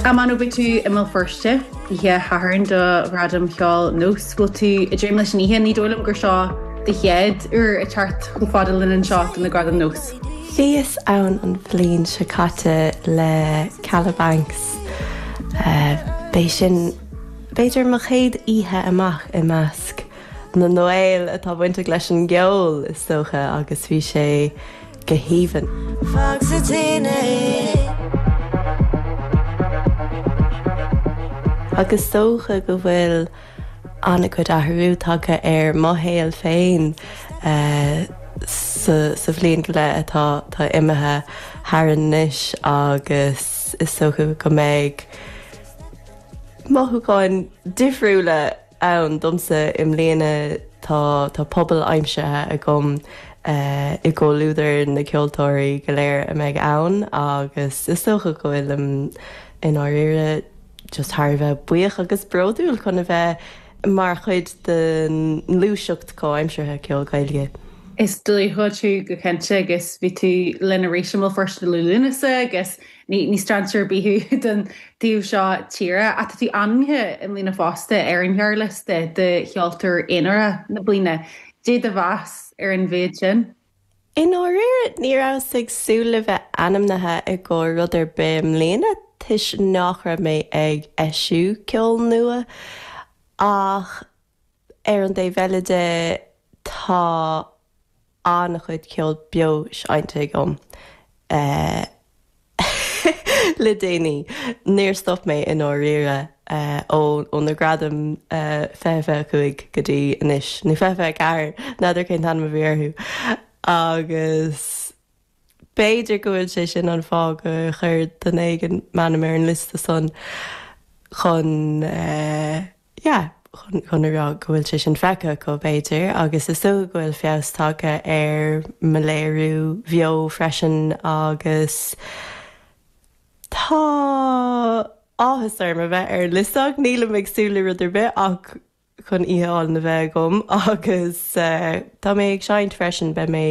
A Manu, beidh tú i mBéal Feirste oíche Shathairn do Ghradaim Cheoil Nós. Bhfuil tú ag dréim leis an oíche? Ní dóigh liom gur seo do chéad uair ag teacht chomh fada linn anseo do na Gradaim Nós. Bhíos ann an bhliain seo caite le Kalabanx. B'é sin b'fhéidir mo chéad oíche amach i measc na nGael atá bainteach leis an gceol, is dócha, agus bhí sé go haoibhinn. Fág sa tine é. Agus is dócha go bhfuil an-chuid athrú tagtha ar mo shaol féin sa bhliain go leith atá atá imithe tharainn anois agus is dócha go mbeidh mothúcháin difriúla ann domsa i mbliana. Tá tá pobal aimsithe agam i gcomhluadar na gceoltóirí go léir a mbeidh ann agus is dócha go bhfuilim i ndáiríre just thar a bheith buíoch agus bródúil chun a bheith mar chuid den ngluaiseacht chomhaimseartha ceoil Gaeilge. Is dlúthchuid thú go cinnte agus bhí tú linn arís i mBéal Feirste i mí Lúnasa agus ní strainséir ar bith thú don taobh seo tíre. Ach tá tú ainmnithe i mbliana fosta ar an ghearrliosta do Cheoltóir Aonarach na Bliana. Cad é do mheas ar an mhéid sin? I ndáiríre, ní rabhas ag súil le bheith ainmnithe i gcomhair rud ar bith i mbliana toisc nach raibh mé ag eisiú ceol nua ach ar an dtaobh eile de tá an-chuid ceol beo seinnte agam. Le déanaí, níor stop mé i ndáiríre ó na Gradaim 2025 go dtí anois, nó 2024, n'fheadar cén t-ainm a bhí orthu, agus b'fhéidir go bhfuil sé sin an fáth gur chuir duine éigin m'ainm ar an liosta san chun. yeah, chun a rá go bhfuil sé sin feicthe acu, b'fhéidir, agus is dócha go bhfuil feabhas tagtha ar mo léiriú bheo freisin agus tá áthas orm a bheith ar an liosta ach nílim ag súil le rud ar bith ach chun oíche álainn a bheith agam agus tá mé ag seinnt freisin, beidh mé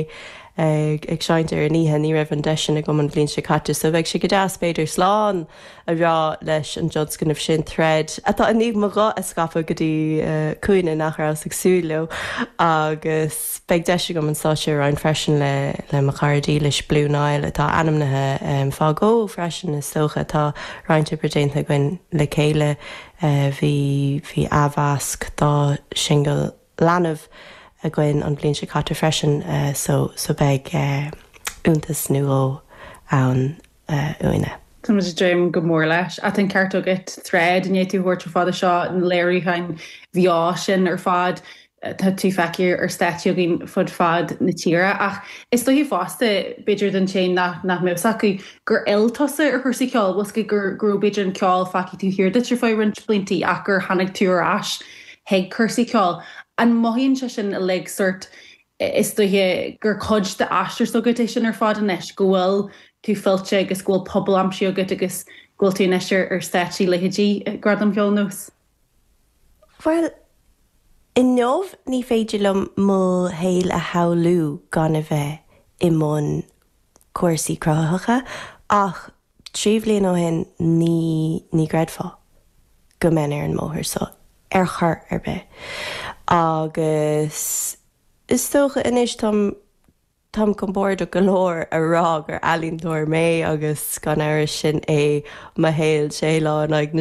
ag seinnt ar an oíche, ní raibh an deis sin agam an bhliain seo caite so beidh sé go deas b'fhéidir slán a rá leis an dtionscnamh sin, Thread, atá i ndiaidh mo ghuth a scaipeadh go dtí cúinne nach rabhas ag súil leo agus beidh deis agam an stáitse a roinnt freisin le le mo chara dílis Blue Niall atá ainmnithe fá dhó freisin is dócha. Tá roinnt oibre déanta againn le chéile, bhí bhí athmheasc dá shingil Leanbh againn an bhliain seo caite freisin so so beidh iontas nó dhó ann. uainne. Tá muid ag dréim go mór leis. Ach tá an ceart agat, Thread, i ndiaidh tú a thabhairt chomh fada seo, na léiriúcháin bheo sin ar fad, tá tú feicthe ar stáitsí againn fud fad na tíre. Ach is dóiche fosta, b'fhéidir don té nach mbeadh fhios acu, gur fhill tusa ar chúrsaí ceoil, bhfuil fhios agat go raibh b'fhéidir an ceol fágtha taobh thiar duit ar feadh roinnt blianta ach gur tháinig tú ar ais chuig cúrsaí ceoil. An mothaíonn sé sin uilig sórt Is dóiche gur cuid d'aistear s'agat é sin ar fad anois, go bhfuil tú fillte agus go bhfuil pobal aimsithe agat agus go bhfuil tú anois ar stáitsí leithéidí Gradam Cheoil Nós. Bhuel, inniu ní féidir liom mo shaol a shamhlú gan a bheith i mbun cúrsaí cruthaitheacha ach 3 bhliain ó shin ní ní gcreidfeá go mbeinn ar an mbóthar seo ar chor ar bith agus Is dócha anois táim táim compordach go leor a rá gur ealaíontóir mé agus gan amhras sin é mo shaol sé lá in aghaidh na.